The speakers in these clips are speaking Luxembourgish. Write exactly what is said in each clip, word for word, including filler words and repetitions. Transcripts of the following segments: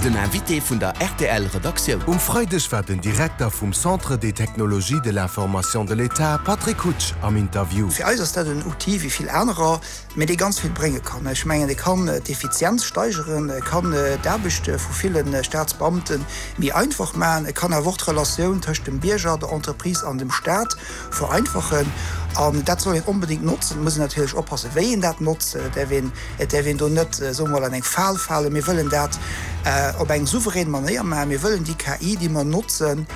Den Invité vun der R T L Redaktioun. Um Freideg war den Direkter vum Centre des technologies de l'information de l'État, Patrick Hutsch, am Interview. Fir eis ass dat en Outil wéi vill anerer, mee dee ganz vill brénge kann. Ech mengen, dee kann d'Effizienz steigeren, e kann d'Aarbecht vu ville Staatsbeamte méi einfach maachen, e kann awer och d'Relatioun tëscht dem Bierger, der Entreprise an dem Staat vereinfachen. An dat soll een onbedéngt notzen. Et muss een natierlech oppassen, wéi een dat notzt. Et däerf een, et däerf een do net, soe mer mol, an eng Fal falen. Mir wëllen dat op eng souverän Manéier maachen. Mir wëllen déi K I, déi mer notzen,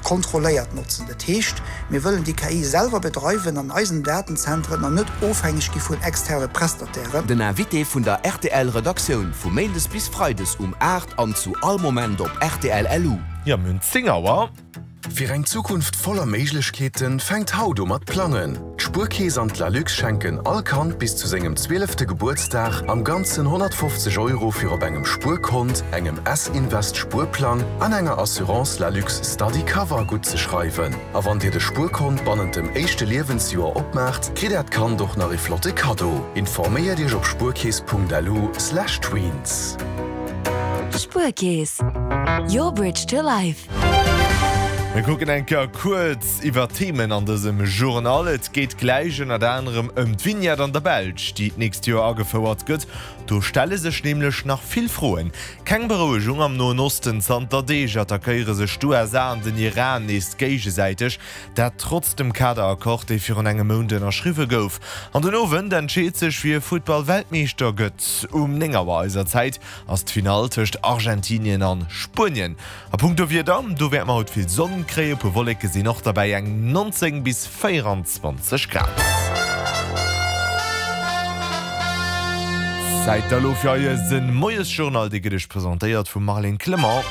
kontrolléiert notzen. Dat heescht, mir wëllen déi K I selwer bedreiwen an eisen Datenzentren an net ofhängeg gi vun externe Prestatairen. Den Invité vun der R T L Redaktioun vu Méindes bis Freides um aacht an zu all Moment op R T L L U. Jo, mir hunn zéng Auer. Fir eng Zukunft voller Méiglechkeeten fänkt haut u mat plangen. D'Spuerkeess an d'Lalux schenken all Kand bis zu sengem zwielefte Gebuertsdag am Ganzen honnertfofzeg Euro fir op engem Spuerkont, engem S-Invest Spuerplang an enger Assurance Lalux Study Cover guttzeschreiwen. A wann dir de Spuerkont bannent dem éischte Liewensjoer opmaacht, kritt äert Kand och nach e flotte Kaddo. Informéiert iech op spuerkeess Punkt L U Slash tweens. Spuerkeess. Your bridge to life. Mir kucken eng Kéier kuerz iwwer Themen an dësem Journal. Et geet gläich ënnert anerem ëm d'Vignette an der Belsch, déi d'nächst Joer agefouert gëtt. Do stelle sech nämlech nach vill Froen. Keng Berouegung am Noen Osten, Zanter Deeg attackéiere sech d'U S A an den Iran nees géigesäiteg, dat trotz dem Kaderaccord, dee virun engem Mount ënnerschriwwe gouf. An den Owend entscheet sech, wie Futtball-Weltmeeschter gëtt. Um néng Auer eiser Zäit ass d'Finall tëscht Argentinien a Spuenien. A punkto Wieder, do wäerte mer haut vill Sonn kréien, puer Wolleke sinn och derbäi, eng neunzéng bis véierenzwanzeg Grad. Zäit elo fir eise Moiesjournal, dee gëtt iech presentéiert vum Marlène Clement.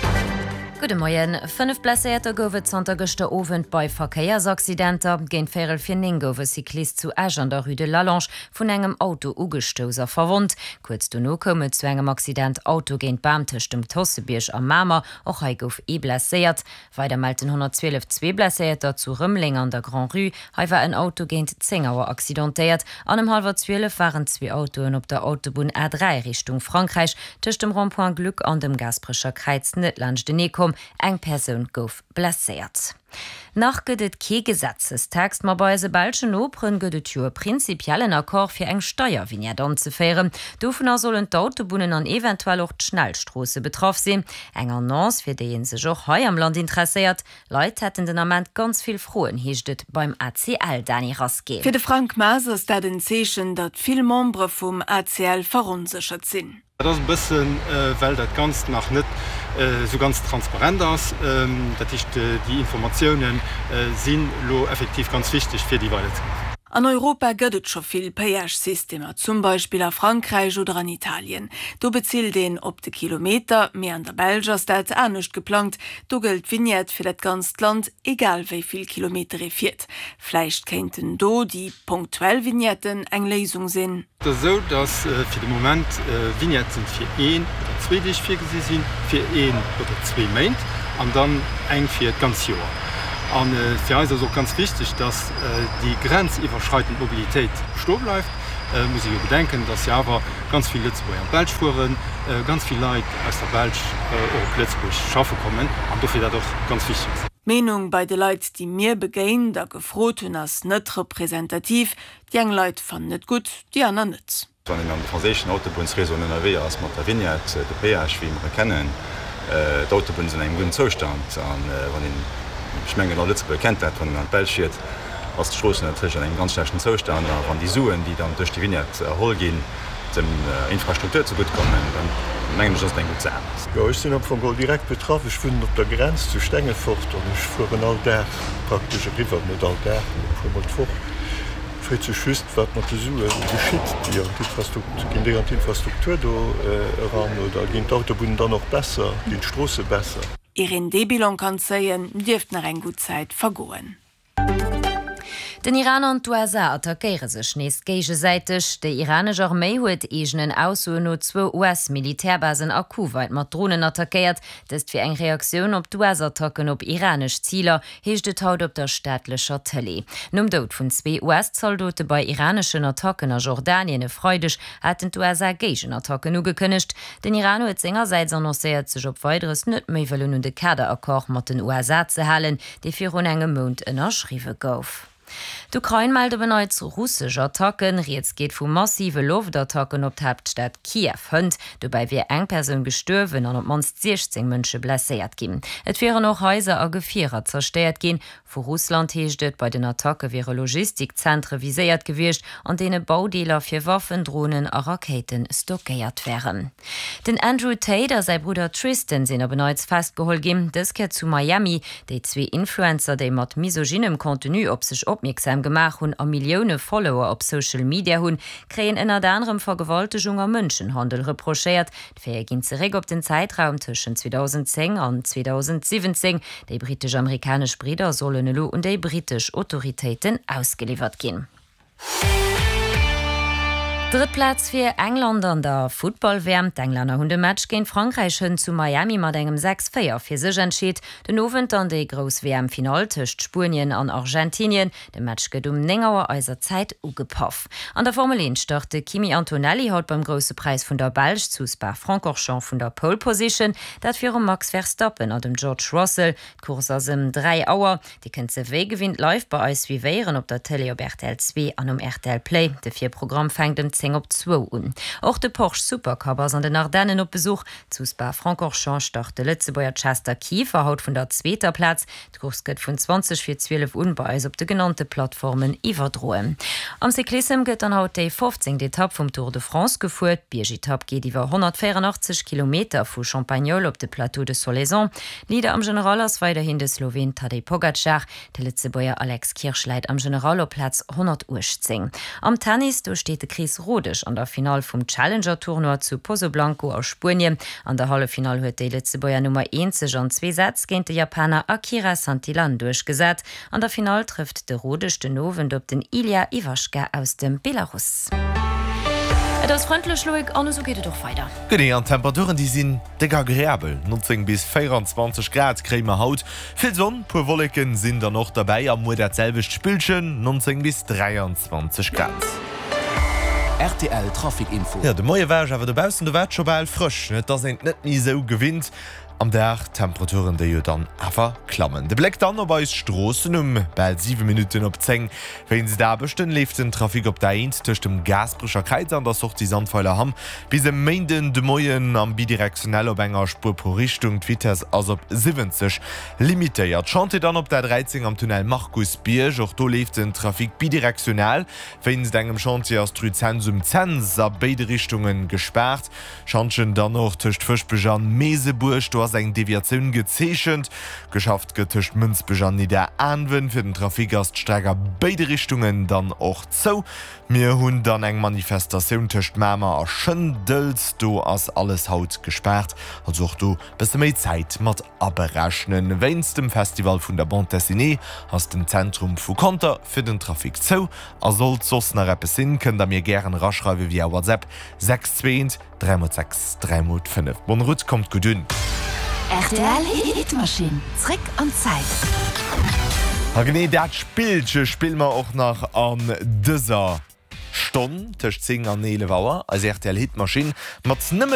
Gudde Moien. Fënnef Blesséierter gouf et zanter gëschter Owend bei Verkéiersaccidenter. Géint véierel vir néng gouf e Cyclist zu Esch an der Rue de Lallange vun engem Auto ugestouss a verwonnt. Kuerz dono koum et zu engem Accident Auto géint Bam tëscht dem Tossebierg a Mamer. Och hei gouf ee blesséiert. Weider mellt den honnertzwielef zwee Blesséierter zu Rëmeleng an der Grand-Rue. Hei war en Auto géint zéng Auer accidentéiert. An ëm hallwer zwielef waren zwee Autoen op der Autobunn A dräi Richtung Frankräich tëscht dem Rond-point Gluck an dem Gaasperecher Kräiz net laanschtenee komm. Eng Persoun gouf blesséiert. Nach gëtt et kee Gesetzestext, ma bei eise belschen Noperen gëtt et jo e prinzipiellen Accord fir eng Steiervignette anzeféieren. Dovunner sollen d'Autobunnen an eventuell och d'Schnellstroosse betraff sinn. Eng Annonce, fir déi ee sech och hei am Land interesséiert. Leit hätten den Ament ganz vill Froen, heescht et beim A C L, Dany Rasqué. Fir de Frank Maas ass dat en Zeechen, datt vill Membere vum A C L veronséchert sinn. Dat ass e bëssen, well dat Ganzt nach net esou ganz transparent ass. Dat heescht, déi Informatioune sinn elo effektiv ganz wichteg fir déi weider ze maachen. An Europa gëtt et scho vill Péage-Systemer, zum Beispill a Frankräich oder an Italien. Do bezilt een op de Kilometer, mee an der Belsch ass dat anescht geplangt. Do gëllt d'Vignette fir dat ganzt Land, egal wéi vill Kilometer ee fiert. Vläicht kéinten do déi punktuell Vignetten eng Léisung sinn. Et ass esou, datt fir de Moment Vignetten fir een oder zwee Deeg virgesi sinn, fir een oder zwee Méint an dann eng fir d'ganz Joer. A fir eis ass och ganz wichteg, datt déi grenziwwerschreidend Mobilitéit bestoe bleift. Et muss ee jo bedenken, datt jo awer ganz vill Lëtzebuerger an d'Belsch fueren, ganz vill Leit aus der Belsch och op Lëtzebuerg schaffe kommen an dofir dat och ganz wichteg ass. D'Meenung bei de Leit, déi mir begéint a gefrot hunn, ass net representativ. Déi eng Leit fannen et gutt, déi aner net. Wann een an de franséischen Autobunnsréseauen ënnerwee ass mat der Vignette, de Péage wéi mer e kennen, d'Autobunne sinn an engem gudden Zoustand an wann een, ech mengen all Lëtzebuerger kennt dat, wann een an d'Belsch fiert, ass d'Strooss natierlech an engem ganz schlechten Zoustand a wann déi Suen, déi dann duerch déi Vignette erholl ginn, dem Infrastruktur zegutt kommen, dann mengen ech, ass et eng gutt Saach. Jo, ech sinn am Fong geholl direkt betraff. Ech wunnen op der Grenz zu Stengefort an ech fueren all Dag praktesch eriwwer, net all Dag, mee e puer mol d'Woch. Et freet sech just, wat mat de Sue geschitt, déi an d'Infrastruktur, ginn déi an d'Infrastruktur do eran oder ginn d'Autobunnen dann och besser, ginn d'Stroosse besser? Ier een dee Bilan kann zéien, dierft nach eng gutt Zäit vergoen. Den Iran an d'USA attackéiere sech nees géigesäiteg. Déi iranesch Arméi huet eegenen Aussoen no zwou US-Militärbasen a Kuwait mat Dronen attackéiert. Dëst wier eng Reaktioun op d'US-Attacken op iranesch Ziler, heescht et haut op der staatlecher Tëlee. Nom Doud vun zwee US-Zaldote bei iraneschen Attacken a Jordanien e Freideg haten d'USA Géigenattacken ugekënnegt. Den Iran huet sengersäits annoncéiert, sech op Weideres net méi wëllen un de Kaderaccord mat den USA ze halen, dee virun engem Mount ënnerschriwwe gouf. D'Ukrain mellt op en Neits russesch Attacken. Rieds geet vu massive Loftattacken op d'Haaptstad Kiew hënt. Dobäi wier eng Persoun gestuerwen an op d'mannst siechzéng Mënsche blesséiert ginn. Et wieren och Haiser a Gefierer zerstéiert ginn. Vu Russland heescht et, bei den Attacke wiere Logistikzentre viséiert gewiescht, an deene Baudeeler fir Waffen, Dronen a Rakéite stockéiert wären. Den Andrew Tate a säi Brudder Tristan sinn op en Neits festgeholl ginn, dës Kéier zu Miami. Déi zwee Influencer, déi mat misogynem Contenu op sech opmierksam gemaach hunn a Millioune Follower op Social Media hunn, kréien ënnert anerem Vergewaltegung a Mënschenhandel reprochéiert. D'Faite ginn zeréck op den Zäitraum tëschent zweedausendzéng an zweedausensiwwenzéng. Déi brittesch-amerikanesch Bridder sollen elo un déi brittesch Autoritéiten ausgeliwwert ginn. Drëtt Plaz fir England an der Futtball-W M. D'Englänner hunn de Match géint Frankräich hënt zu Miami mat engem sechs véier fir sech entscheet. Den Owend dann déi grouss W M-Finall tëscht Spuenien an Argentinien. De Match gëtt um néng Auer eiser Zäit ugepaff. An der Formel eent start de Kimi Antonelli haut beim Grousse Präis vun der Belsch zu Spa-Francorchamps vun der Pole Position, dat virum Max Verstappen an dem George Russell. D'Course ass ëm dräi Auer. Dir kënnt se wéi gewinnt live bei eis suivéieren op der Télé op rtl zwee an um rtl Play. De Virprogramm fänkt ëm zéng op zwou un. Och de Porsche Supercup ass an den Ardennen op Besuch. Zu Spa-Francorchamps start de Lëtzebuerger Chester Kieffer haut vun der zweeter Plaz. D'Course gëtt vun zwanzeg vir zwielef un bei eis op de genannte Plattformen iwwerdroen. Am Cyclissem gëtt dann haut déi fofzéngt Etapp vum Tour de France gefuer. D'Biergetapp geet iwwer honnertvéierandachtzeg Kilometer vu Champagnole op de Plateau de Solaison. Leader am General ass weiderhin de Sloween Tadej Pogacar. De Lëtzebuerger Alex Kirsch läit am General op Plaz honnertuechtzéng. Am Tennis, do steet de Chris Rodesch an der Finall vum Challenger-Tournoi zu Pozoblanco a Spuenien. An der Halleffinall huet déi Lëtzebuerger Nummer eent sech an zwee Sätz géint de Japaner Akira Santillan duerchgesat. An der Finall trëfft de Rodesch den Owend op den Ilya Ivashka aus dem Belarus. Et ass frëndlech, Loïc, an esou geet et och weider. Genee, an d'Temperaturen, déi sinn déck agreabel, neunzéng bis véierundzwanzeg Grad kréie mer haut. Vill Sonn, puer Wolleken sinn dann och derbäi a muer dat selwecht Spillchen, neunzéng bis dräianzwanzeg Grad. Rtl Trafic Info. Jo, de Moie war ech awer dobaussen, do war et scho bal frësch, et ass een et net méi esou gewinnt. Am Dag d'Temperaturen, déi jo dann awer klammen. De Bléck dann op eis Stroossen um bal siwe Minutten op zéng. Wéinst Aarbechten leeft den Trafic op der A eent tëscht dem Gaasperecher Kräiz an der Sortie Sandweiler-Hamm bis e Méinden de Moien am Bidirektionell op enger Spuer pro Richtung. D'Vitess ass op siwwenzeg limitéiert. Chantier dann op der dräizéng am Tunnel Markusbierg. Och do leeft den Trafic bidirektional. Wéinst engem Chantier ass d'Rue Cents um Cents a béide Richtunge gespaart. Schantjen dann och tëscht Fëschbech an Meesebuerg, do ass eng Deviatioun gezeechent. Geschafft gëtt tëscht Mënsbech an Nidderaanwen. Fir den Trafic ass d'Streck a béide Richtungen dann och zou. Mir hunn dann eng Manifestatioun tëscht Mamer a Schëndels, do ass alles haut gespaart, also och do bësse méi Zäit mat aberechnen. Wéinst dem Festival vun der Bande Dessinée ass den Zentrum vu Conter fir den Trafic zou. A sollt soss nach eppes sinn, kënnt der mir gären eraschreiwe via WhatsApp, sechs zwee eent dräi mol sechs dräi mol fënnef. Bonne route, kommt gutt un! Rtl Hitmaschinn, zréck an d'Zäit. A genee dat Spillche spille mer och nach an dëser Stonn tëscht zéng an eelef Auer, eis rtl Hitmaschinn mat nëmmen.